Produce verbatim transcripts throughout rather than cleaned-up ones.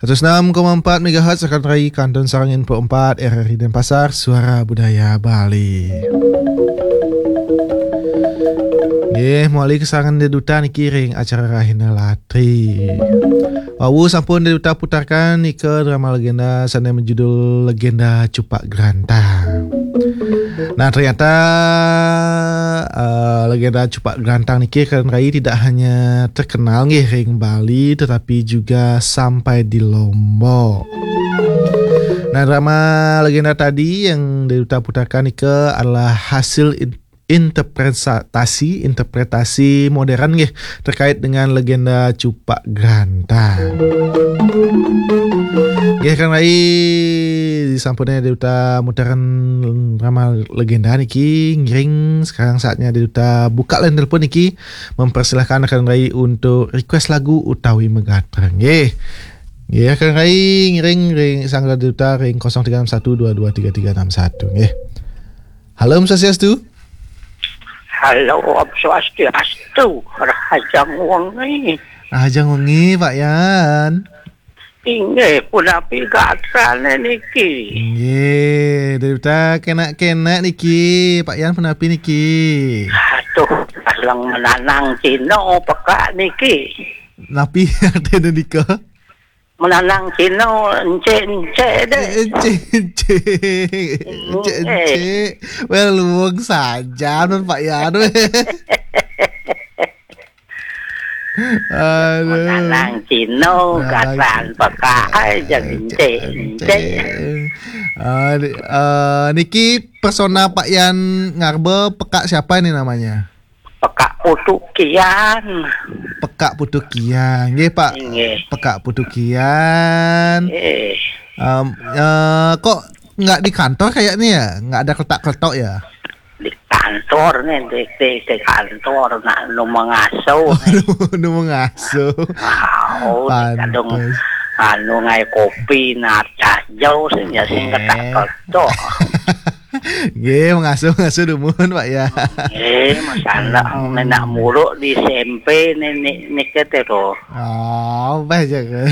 Seratus enam koma empat megahertz, rekan rai, Kantun Sarang N P empat, R R I Denpasar, Suara Budaya Bali. Nggih, mawali kasarengan Dek Duta niki ring acara Rahina Latri. Wau sampun Dek Duta putarkan nika drama legenda sane majudul Legenda Cupak Grantang. Nah, ternyata, eh, legenda Cupak Grantang niki, rekan rai, tidak hanya terkenal nggih ring Bali, tetapi juga sampai di Lombok. Nah, drama legenda tadi yang Dek Duta putarkan nika adalah hasil in-, interpretasi, interpretasi modern nggih, terkait dengan legenda Cupak Grantang. Nggih, rekan rai, disampun Dek Duta muteren drama legenda niki, ngiring sekarang saatnya Dek Duta buka line telepon niki, mempersilahkan rekan rai untuk request lagu utawi magatra nggih. Nggih, rekan rai, ngiring ring sangga Dek Duta ring kosong tiga enam satu dua dua tiga tiga enam satu nggih. Halo, Om Swastiastu. Halo, Om Swastiastu, Rahajeng wengi. Rahajeng wengi, Pak Yan. Inggih, punapi gatrane niki? Nggih, Dek Duta kenak-kenak niki, Pak Yan punapi niki? Aduh, kaleng menanang Cina pekak niki. Napi artine nika? Menanang Cina encik-encik deh. Encik-encik. Encik-encik. Well, luwung saja nun, Pak Yan. Aduh. Menanang Cina, menanang katan Cina. Pekak aja, encik-encik. Ah, ni-, eh, niki persona Pak Yan ngarba pekak siapa ini namanya? Pekak Putu Kian. Pekak Putu Kian. Nggih, Pak. Nggih. Pekak Putu Kian. Nggih. Em, eh, kok nggak di kantor kayaknya ya? Nggak ada keletak-keletok ya? Di kantor nih, di, di, di kantor nak nu mengasuh. Oh, nih. Nu, nu mengasuh. Wow, kadung pantes. Anu ngai kopi, nah, cah jauh sih, ya, sing, eh, keletak-keletok. Nggih, mengasuh-ngasuh dumun, Pak, ya. Nggih, masalah, hmm, nenek muruk di S M P nenek nike teh tuh. Oh, baik aja.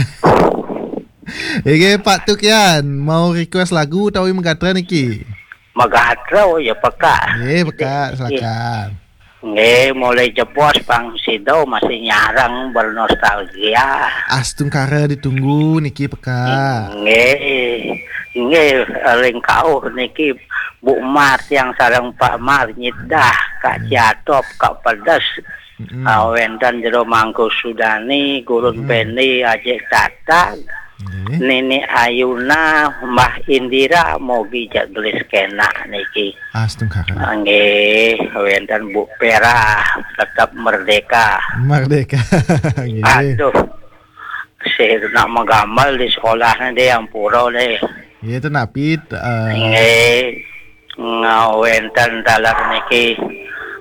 Nggih, Pak Tukian, mau request lagu utawi magatra niki? Magatra, oh ya, pekak. Nggih, pekak, nggih, silakan. Nggih, mulai jebos pang sida masih nyareng bernostalgia. Astungkara ditunggu niki pekak. Nggih. Nggih, ring kauh niki Bu Mar tiang sareng Pak Mar nyidah, Kak, hmm, Ciatop, Kak Pedes. Mm-mm. Ah, wenten Jero Mangku Sudani, Gurun, mm-mm, Pendi, Ajik Tatag. Nggih. Nini Ayuna, Mbah Indira, mogi jak gelis kenak niki. Astungkara. Ah, nggih, wenten Bu Pera, tetap merdeka. Merdeka. Nggih. Aduh. Sih nak menggamel di sekolahnya deh, ampura deh. Nggih, itu napi, eh. Nggih. Ngawenten taler niki,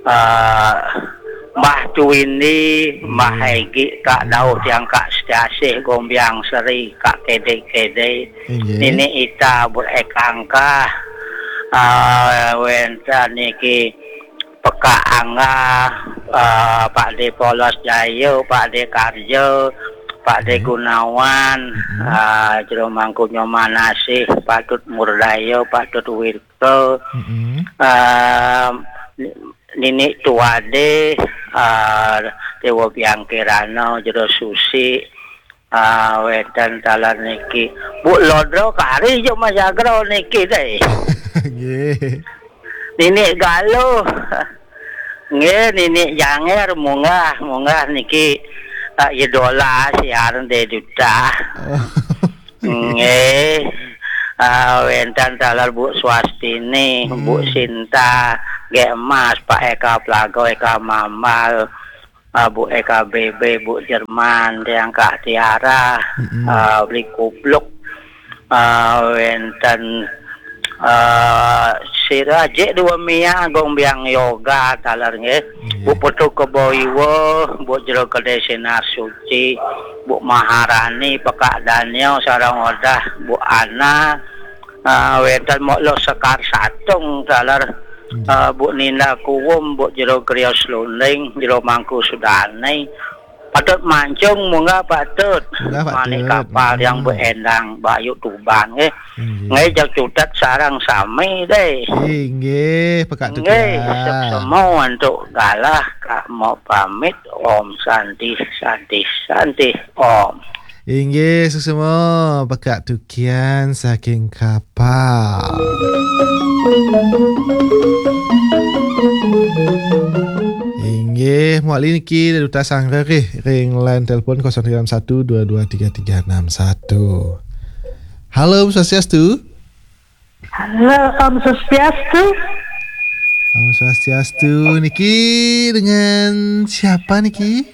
eh, Mbah Tuwindi, Mbah, hmm, Egi, Kak, hmm, Dauh, tiang Kak Setiasih, Gombiang Seri, Kak Kede-Kede, inggih, Nini Ita, Bu Ekangkah, eh, wenten niki Pekak Angga, eh, Pak De Polos Jaya, Pak De Karja, Pak De, hmm, Gunawan, hmm, eh, Jero Mangku Nyomanasih, Pak Tut Murdaya, Pak Tut Wir-, Betul. Mm-mm. Ah, Nini Tuade, ah, Dewa Biang Kirana, Jero Susi, ah, wenten taler niki. Bu Lodro kari jo majagra niki deh. Nggih. Nini Galuh. Nggih, Nini Janger munggah, munggah niki, ah, idola siaran de duta. Oh. Nggih. Ah, wenten taler Bu Swastini, Bu, hmm, Sinta, Gek Emas, Pak Eka Plago, Eka Mambal, ah, Bu Eka B B, Bu Jerman, tiang Kak Tiara, mm-mm, ah, Beli Kubluk, ah, wenten, ah, sira Jek Dua Mia, Gong Biang Yoga, taler nggih. Nggih. Bu Putu Kebo Iwa, Bu Jero Gede Sinar Suci, Bu Maharani, Pekak Daniel, sareng odah Bu Ana, ah, wenten Mok Lo Sekar Satung, taler, nggih, ah, Bu Ninda Kuwum, Bu Jero Grios Lunding, Jero Mangku Sudani, Patut mancung, munggah patut. Munggah patut. Mani kapal yang Hmm. beendang Bayu Tuban, nggih. Inggih. Nggih, jak cutet sareng sami, deh. Inggih, pekak Nggih, tukian. Suksema untuk galah, Kak mau pamit. Om Santi, Santi, Santi, Om. Inggih, suksema, pekak tukian saking kapal. Inggih, mawali niki Duta Sanggar, eh, ring line telepon kosong tiga enam satu dua dua tiga tiga enam satu. Halo, Om Swastiastu. Halo, Om Swastiastu. Om Swastiastu. Niki dengan siapa niki?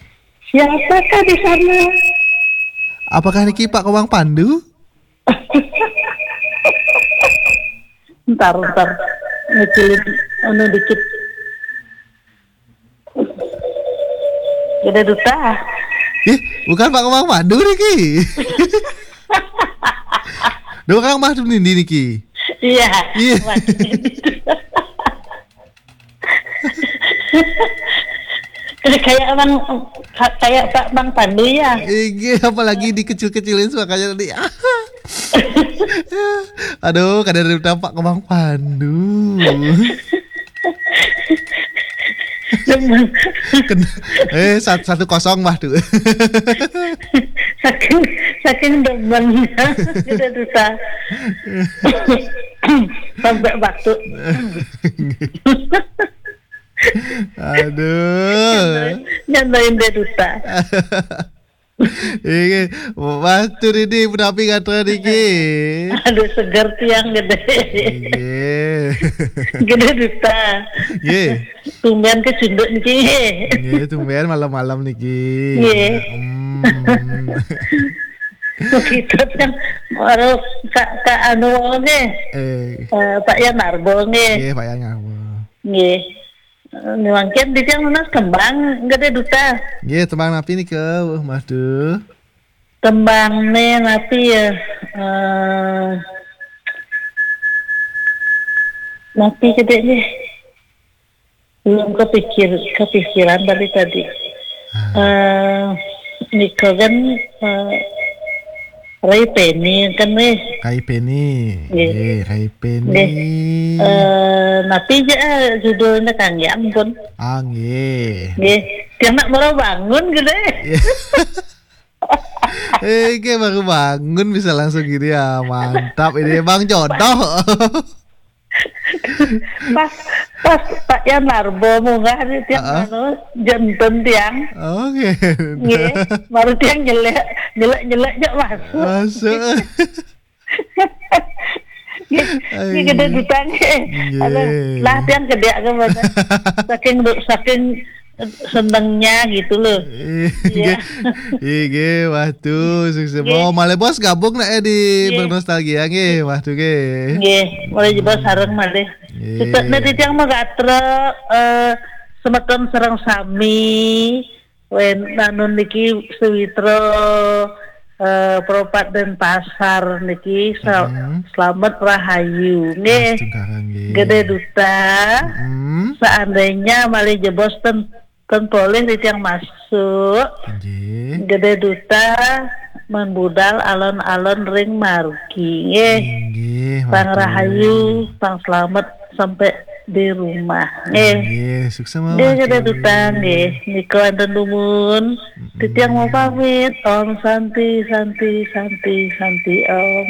Siapakah di sana? Apakah niki Pak Komang Pandu? Ntar, ntar. Ngecilin anu dikit. Gede Duta. Ih, bukan Pak Komang Pandu niki. Duh, Kang Mah Nindi niki. Iya. Iya. Mah Nindi. Kayak Bang, kayak Pak Bang Pandu ya. Iya, apalagi dikecil-kecilin suaranya tadi. Aduh, kadang tampak ke Bang Pandu. Demen. Ken- eh, sat- satu kosong mah tuh. Saking, saking demen. Kita Duta. Sampai batuk. Aduh. Nyandain dia Duta. Iki, Mas Turidi, punapi gatra niki? Aduh, seger tiang gede. Nggih. Gede Duta. Nggih. Tumben kecunduk niki. Nggih, tumben malam-malam niki. Nggih. Hmm. Begitu kan, baru Kak, Kak anu nggih. Eh. Eh, Pak Yan Narbo nggih. Nggih, Pak Yan Narbo. Nggih. Mangkin di tiang nunas tembang gede Duta. Nggih, tembang napi nika, Mas Du? Tembang ne napi ya? Eh, napi gede nih? Belum kepikir, kepikiran dari tadi. Ah. Eh, nika kan, eh, Rai Peni kan weh. Rai Peni. Nggih. Nggih, Rai Peni. Nggih. Eh, napi ja, eh, judulnya Kang, ya ampun. Ah, nggih. Nggih. Tiang nak baru bangun gede. Iya. Eh, kayak baru bangun bisa langsung gini ya, mantap ini Bang Jodoh. Pas, pas Pak Yan Narbo munggah di tiang Heeh. Anu, janten tiang. Oke. Nggih, baru tiang nyelek, nyelek, nyelek jak masuk. Masuk. Nggih, nggih, gede Duta nggih. Nggih. Aduh, lah tiang gede ke mana? Saking, saking senengnya gitu loh. Iya. Nggih. Nggih, waktu sukses. Nggih. Oh, malih bos gabung nak ya di Nggih. Bernostalgia nggih, waktu nggih. Nggih, mulai jebos Hmm. sareng malih. Nggih. Cetane titiang magatra, eh, semeton sareng sami. Wen anu niki sewitra, eh, Propat Denpasar niki sa- Mm-mm. Selamat rahayu nggih. Astungkara nggih. Gede Duta. Mm-mm. Seandainya malih jebos ten, ten polih titiang masuk. Nggih. Gede Duta membudal alon-alon ring margi nggih. Nggih, pang rahayu, pang selamat sampai di rumah. Nggih. Nggih, sukses Nggih, mawon. Gede Duta nggih. Nika wonten dumun. Mm-mm. Titiang mau pamit. Om Santi, Santi, Santi, Santi Om.